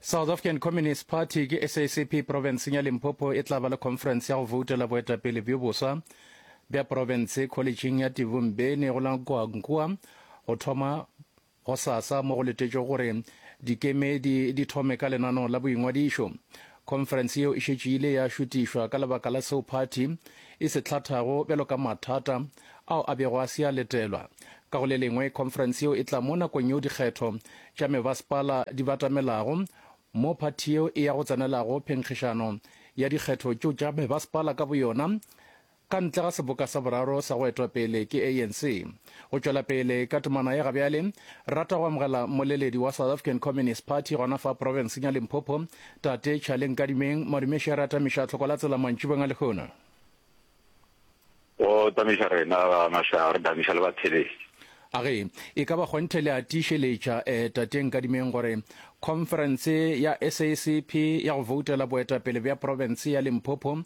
South African Communist Party ke SACP profenseng ya Limpopo e tla ba le khonferense ya go voutela boetapele bjo boswa bja profense kholetšheng ya Tivumbeni go la Nkoankoa go thoma gosasa mo go letetšwego gore dikemedi di thome ka lenaneo la boingwadišo. Khonferense yeo e šetše ile ya šutišwa ka lebaka la seo phathi e se hlathago bjalo ka mathata ao a bego a se a letelwa. Ka go le lengwe, khonferense yeo e tla mo nakong yeo dikgetho tša mebasepala di batamelago, mo phathi yeo e ya go tsenelago phenkgišano ya dikgetho tšeo tša mebasepala ka boyona ka ntle ga seboka sa boraro sa go etwa pele ke ANC. Go tšwela pele ka temana ye gabjale, re rata go amogela mmoleledi wa South African Communist Party gona fa profenseng ya Limpopo, Tate Charlie Nkadimeng. Madumeše re atamiša tlhoko la tsela mantšibong a lehono. Go tamiša rena ba maša, re tamiša le batheletši. A ge e ka ba kgonthe le a tiišeletša, eh, Tate Nkadimeng, gore khonferense ya SACP ya go voutela boetapele bja profense ya Limpopo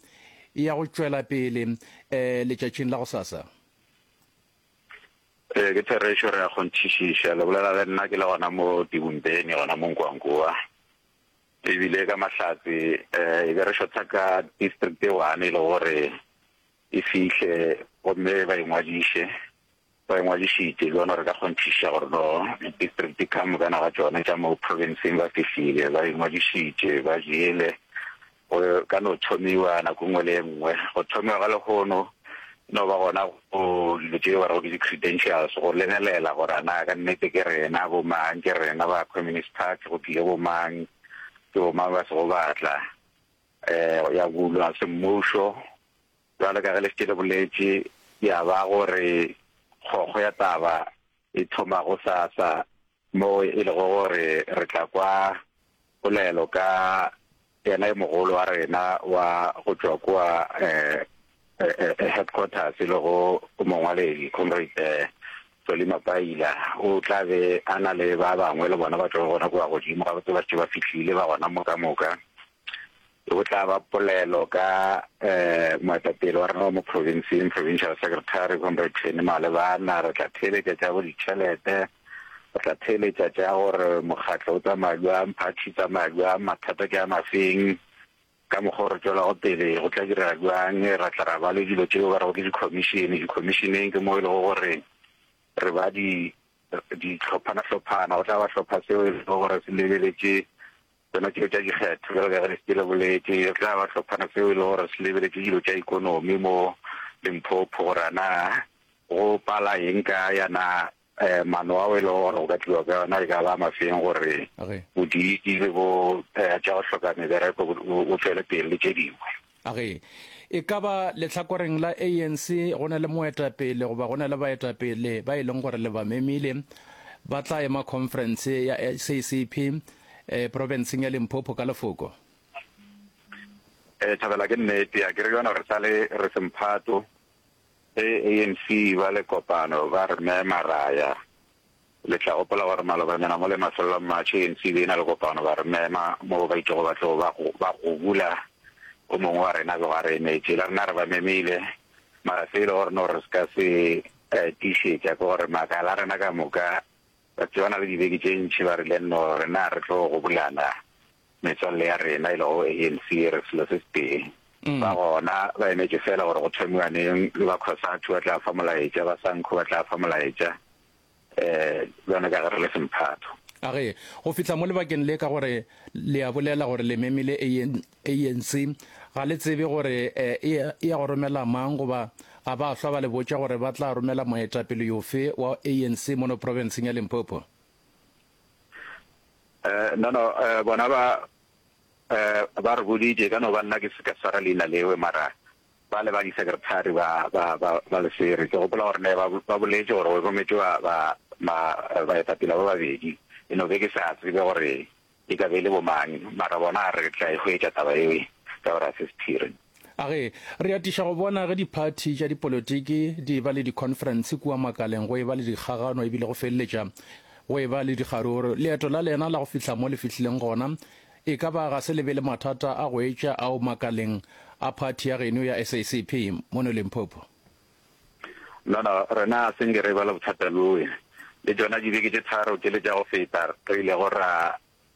e ya go tšwela pele, eh, letšatšing la gosasa? Ee, ke therešo, re a kgonthišiša. Le bolela le nna ke le gona mo Tibumbeni, gona mo Nkoankoa. E bile ka mahlatse e be re šotha ka district e one e le gore e fihle gomme ba ingwadiše. Ba ingwadišitše, le gona re ka kgonthiša gore no district ka mokana ga tšona tša mo provinceng ba fihlile, ba ingwadišitše, ba jele. Go ka no thomiwa nako e nngwe le e nngwe. Go thomiwa ga lehono e no ba gona go dilo tše ba rego ke di-credentials, go lebelela gore a na ka nnete ke rena bo mang, ke rena ba Communist Party, go tlile bo mang, ke bo mang ba sego ba tla. Um ya bulwa semmušo bjalo ka ge le šetše le boletše, ya ba gore kgokgo ya taba e thoma gosasa mo e lego gore re tla kwa polelo ka yena yo mogolo wa rena wa go tšwa kua headquarters e lego mongwaledi Comrade Solly Mapaila. O tla be a na le ba bangwe le bona ba tšwago gona kua godimo, gabotse ba šetše ba fihlile ba gona mo ka moka. Go tla ba polelo ka moetapele wa rena wa mo provinceng, Provincial Secretary Comrade Tshweni Malebana. Re tla theeletša tša bo ditšhelete, re tla theeletša tša gore mokgatlo o tsamaya bjang, party e tsamaya bjang, mathata ke a mafeng, ka mokgwa o re tšwelago pele go tla direga bjang. Ra tla ra ba le dilo tšeo ba rego ke di-commission. Di-commissioneng ke mo e lego gore re ba di dihlophana-hlophana, go tla ba hlopha seo e lego gore se lebeletše Tsona tšeo tša dikgetho, bjalo ka ge le šetše le boletše, re tla ba hlophana seo e le gore se lebeletše dilo tša ikonomi mo Limpopo, gore a na go pala eng kae, a na maano ao e lego gore go ka tliwa ka yona e ka ba mafeng gore bodiidi le bo tša go hloka mebereko bo tšwele pele le tše dingwe. A ge e ka ba lehlakoreng la ANC go na le moetapele goba go na le baetapele ba e leng gore le ba memile ba tla ema khonferense ya SACP eh, profenseng ya Limpopo ka lefoko? Eh, Thabela ke nnete, a ke re yona re sale re se mphato ge ANC ba le kopano ba re mema ra ya. Le tla gopola gore malobanyana mo le mafelelo a March ANC e be e na le kopano ba re mema moo ba itšego ba tlo ba ba gobula o mongwe wa rena bego a re emetše. Le rena re ba memile mara se e le gore no re se ka se tiišetša ke gore makala a rena ka moka ba tsebana le dibeke tše ntši ba rile no rena re tlo gobulana metswalle ya rena e lego ANC re selo se setee. Ba gona ba emetše fela gore go thomiwa neng le ba Cosatu ba tla fa molaetša ba Sanco ba tla fa molaetša. um bjalo ka ge re le semphato. A ge, go fihla mo lebakeng le, ka gore le a bolela gore le memile ANC, ga le tsebe gore e ya go romela mang goba ga ba hlwa ba le botša gore ba tla romela moetapele yofe wa ANC mono profenseng ya Limpopo? No, no, bona ba, ba re boditše, e ka no ba nna ke se ka swara leina lewe, mara Ba le ba di-secretary ba, ba, ba, ba Lesere. Ke gopola gore ne ba, ba boletše gore go rometšwe ba, ba, ma, baetapele ba babedi. E no be ke sa tsebe gore e ka be e le bo mang, mara bona re tla e hwetša taba eo ka gore ga se sephiri. A ge re atiša go bona ge diphathi tša dipolotiki di eba le dikhonferense kua makaleng go eba le dikgagano ebile go feleletša go eba le dikgaruru, leeto la lena la go fihla mo le fihlileng gona E ka ba ga se le be le mathata a go etša ao makaleng a phathi ya geno ya SACP mono Limpopo? No, no, rena ga se nke re eba le bothata bjoe. Le tšona dibeke tše tharo tšele tša go feta re ilego ra,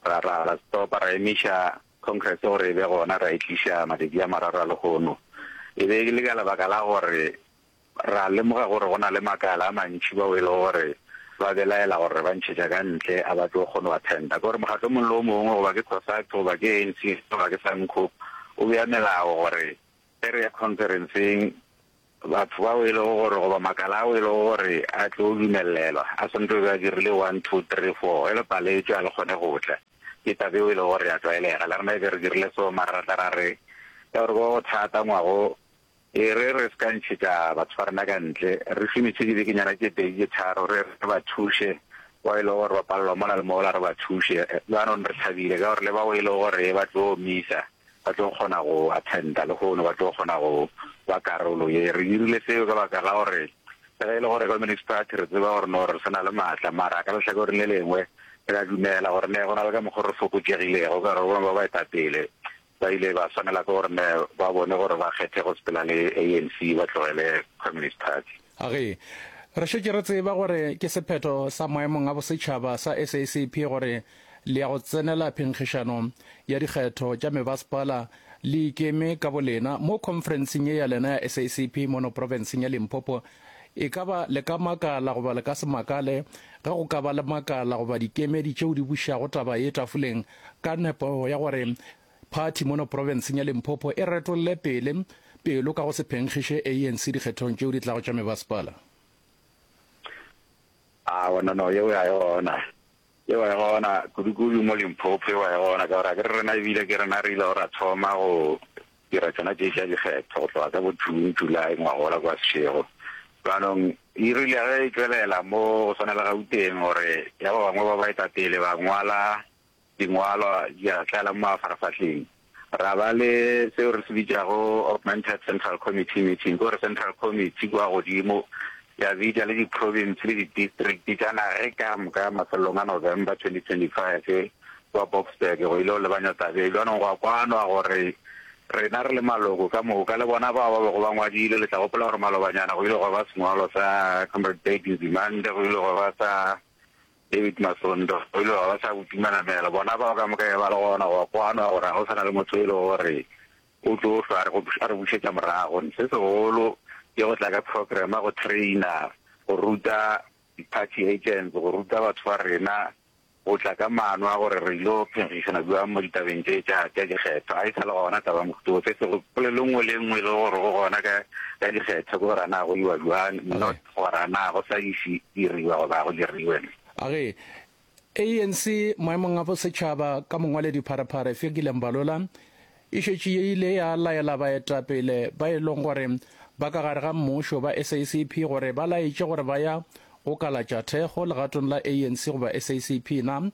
Ra, ra, ra stopa, ra emiša Congress gore e be gona, ra e tliša matšatši a mararo a lehono. E be e le ka lebaka la gore ra lemoga gore go na le makala a mantši bao e lego gore ba belaela gore re ba ntšhetša ka ntle, a ba tlo kgone go attenda. Ke gore mokgatlo o mongwe le o mongwe, goba ke Cosatu, goba ke ANC, goba ke SANCO, o bea melao gore ge re ya conferenceng, Batho bao e lego gore, goba makala ao e lego gore a tlo dumelelwa, a swanetše go be a dirile one, two, three, four. Ge le paletšwe, a le kgone go tla. Ke taba yeo e lego gore ya tlwaelega. Le rena e be re dirile so, mara ra tla ra re, ka gore go thata ngwago, e re re se ka ntšhetša batho ba rena ka ntle, re šomiše dibekenyana tše pedi tše tharo, re re ba thuše, bao e lego gore ba palelwa mola le mola, re ba thuše. Bjanong re thabile ka gore le bao e lego gore ba tlo misa, ba tlo kgona go attenda lehono, ba tlo kgona go ba karolo ye. Re dirile seo ka baka la gore le ge e le gore Communist Party re tseba gore no re sa na le maatla, mara ka lehlakoreng le lengwe re a dumela gore ne go na le ka mokgo re fokotšegilego ka gore ba bangwe ba baetapele ba ile ba swanela ke gore ne ba bone gore ba kgethe go sepela le ANC ba tlogele Communist Party. A Ge re šetše re tseba gore ke sephetho sa maemong a bosetšhaba sa SACP gore le ya go tsenela phenkgišano ya dikgetho tša mebasepala le ikeme ka bolena mo khonferenseng ye ya lena ya SACP mono profenseng ya Limpopo, e ka ba le ka makala goba le ka se makale ge go ka ba le makala goba dikemedi tšeo di bušago taba ye tafoleng ka nepo ya gore Phathi mono profenseng ya Limpopo e retolle pele pelo ka go se phenkgiše ANC dikgethong tšeo di tlago tša mebasepala. Aowa, no, no, yeo ga e gona. Yeo ga e gona, kudu-kudu mo Limpopo, yeo ga e gona, ka gore akere rena ebile ke rena re ilego ra thoma go dira tšona tše tša dikgetho go tloga ka bo June, July ngwagola kwa Seshego. Bjanong e rile ge e tšwelela mo go swana le Gauteng gore ya ba bangwe ba baetapele ba ngwala Dingwalwa di a tlala mo mafarafahleng. Ra ba le seo re se bitšago Augmented Central Committee meeting, ke gore Central Committee kua godimo ya bitša le di-province le di-district tša naga ka moka mafelelong a November 2025 kua Boksburg go ile go lebanywa taba ye. Bjanong gwa kwanwa gore rena re le maloko ka moka le bona bao ba bego ba ngwadile, le tla gopola gore malobanyana go ile gwa ba sengwalo sa Comrade Blade Nzimande, go ile gwa ba sa David Masondo, o ile wa ba sa botumanamela. Bona bao ka moka e ba le gona go kwanwa gore ga go sa na le motho e lego gore o tlo hlwa a re bušetša morago. Se segolo ke go tla ka program go trainer, go ruta di-party agents, go ruta batho ba rena go tla ka maano a gore re ilo phenkgišana bjang mo ditabeng tše tša tša dikgetho. Ga e sa le gona taba ya mohuta wo. Se sego polelo nngwe le nngwe e lego gore go gona ka ka dikgetho ke gore a na go iwa bjang, not gore a na go sa iše diriwa goba go diriwe. A re, ANC maemong a bosetšhaba ka mongwaledi Pharephare Fikile Mbalula e šetše e ile ya laela baetapele ba e leng gore ba ka gare ga mmušo ba SACP gore ba laetše gore ba ya go kalatša thekgo legatong la ANC goba SACP. Na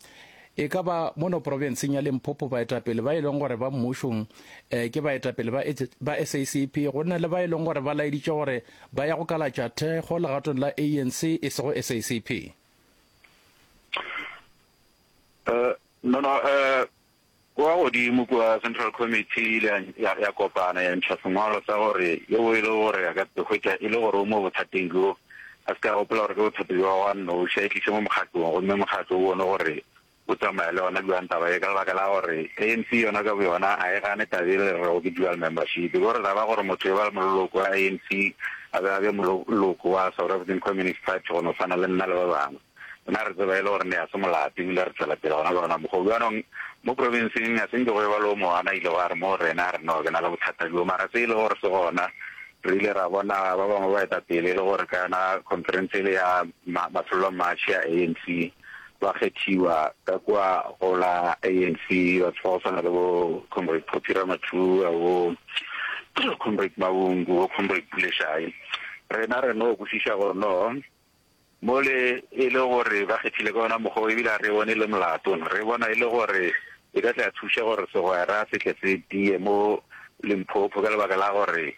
e ka ba mono profenseng ya Limpopo baetapele ba e leng gore ba mmušong ke baetapele ba ba SACP go na le ba e leng gore ba laeditše gore Ba ya go kalatša thekgo legatong la ANC e sego SACP. Uh, no, no, uh, kua godimo kua Central Committee e ile ya, ya kopana ya ntšha sengwalo sa gore yeo e le gore a ka hwetša e le gore o mo bothateng bjo a se ka gopola gore ke bothata bjo wa noši a e tliše mo mokgatlong gomme mokgatlo o bone gore o tsamaya le yona bjang taba ye ka lebaka la gore ANC yona ka boyona a e gane taba e le rego ke dual membership. Ke gore taba gore motho e ba moloko wa ANC a be a be moloko wa South African Communist Party go no swana le nna le ba bangwe. Rena re tseba e le gore ne a se molato ebile re tšwela pele gona ka ona mokgwa o. Bjanong mo provinceng a se nke go eba le o mongwe a na ilego a re mo rena a re no ke na le bothata bjo mara se e le gore se gona re ile ra bona ba bangwe baetapele e le gore ka yona conference ele ya mafelelo a March ya ANC ba kgethiwa ka kua go la ANC, batho ba go swana le bo Comrade Phophi Ramathuba, bo Comrade Mabungu, bo Comrade Pule Shayi. Rena re no kwešiša gore no mole e le gore ba kgethile ka ona mokgwa o, ebile a re bone e le molato, re bona e le gore e ka tla thuša gore segwera se tle se tie mo Limpopo ka lebaka la gore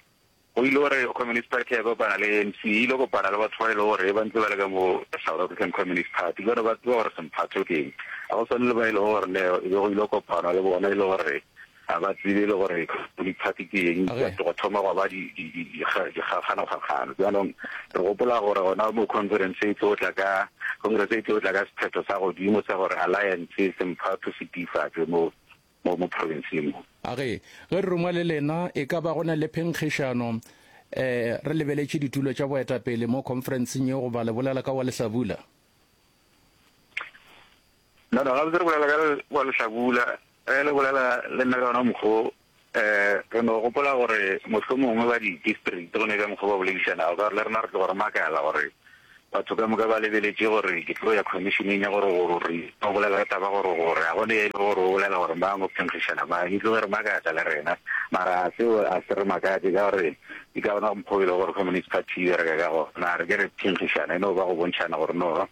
Go ile gore Communist Party ya kopana le ANC, e ile kopana le batho ba e le gore ba ntse ba le ka mo South African Communist Party, bjale ba tseba gore semphato ke eng. Ga go swane le ba e lego gore ne e be go ile kopanwa le bona e le gore Ga ba tsebe le gore Communist Party ke eng, gwa thoma gwa ba dikgakganokgakgano. Bjanong re gopola gore gona mo conference e tlo tla ka, congress e tlo tla ka sephetho sa godimo sa gore alliance semphato se tiifatšwe mo, mo, mo provinceng mo. A ge, ge re rungwa le lena, e ka ba go na le phenkgišano, um re lebeletše ditulo tša boetapele mo conferenceng yeo goba le bolela ka wa lehlabula? No, no, gabotse re bolela ka wa lehlabula. Ge le bolela le nna ka ona mokgwa wo, um re no gopola gore mohlomongwe ba di-district go ne ka mokgwa ba boledišanago, ka gore le rena re tloga re makala gore batho ka moka ba lebeletše gore ke tlo ya commissioneng ya gore gore re o bolela ka taba gore gore a gone e le gore o bolela gore mang o phenkgišana mang, e tloge re makatša le rena. Mara seo a se re makatše ka gore ke ka ona mokgwa o e le gore Communist Party e bereka ka gona. Re ke re phenkgišana e no ba go bontšhana gore no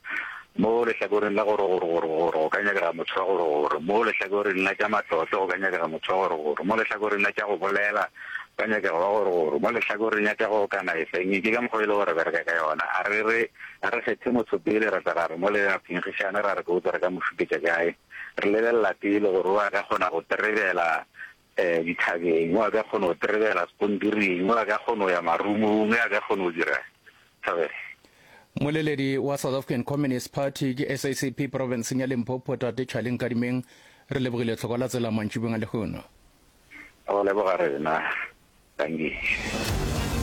Mo lehlakoreng la gore gore gore gore go ka nyakega motho wa gore gore, mo lehlakoreng la tša matlotlo go ka nyakega motho wa gore gore, mo lehlakoreng la tša go bolela go ka nyakega wa gore gore, mo lehlakoreng ya tša go okanaesa eng, ke ka mokgwa e le gore re bereka ka yona. A re re a re kgethe motho pele ra tla ra re mo le ra phenkgišane ra re ke botse re ka mo šupetša kae. Re lebelela pele gore o a ka kgona go terebela um dithabeng, o a ka kgona go terebela sekontiring, o a ka kgona go ya marumong, o a ka kgona go dira Thabela. Mmoleledi wa South African Communist Party ke SACP profenseng ya Limpopo Tate Charlie Nkadimeng, re lebogile tlhoko la tsela mantšibong a lehono. Go leboga rena. Dankie.